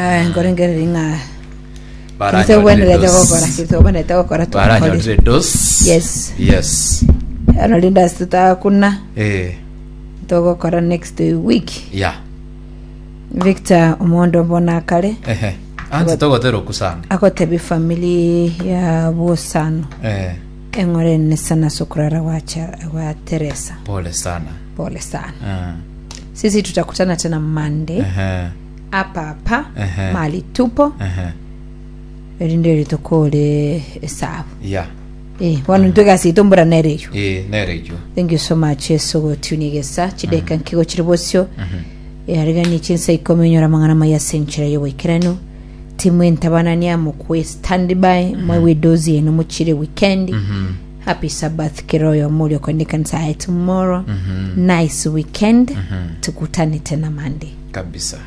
Ah, nkorengereria ng'a Kristo obwenerete gokora Kristo obwenerete gokora twakore Baranyorire dos. Yes. Yes. Ero rinde ase totakuna Eh. togokora next week Yeah. Victor omondo mbona akare Ehe. Anse togotera okusana. agotebi family ya bosano Eh. eng'ore nene sana ase okorara gwa Cha- gwa Teresa Pole sana. pole sana Ah. sisi tutakutana tena Monday Ehe. hapa hapa Ehe. mahali tupo Ehe. erinde ritokore esabu Yeah. eh bono intwe egasi yaito mbura nere eywo Eh, nere eywo. thank you so much yesu gotuni gesa chideka nkigo chiri bosio yarigani chinsa ikomi onyora amang'ana maya ase enchera y'oboikeranu timu entabanania mokwe stand by mwewe dozi eno mochire weekend happy sabbath kera oyomo oria okoenda ekanisa yaye tomorrow nice weekend tukutane tena monday Kabisa.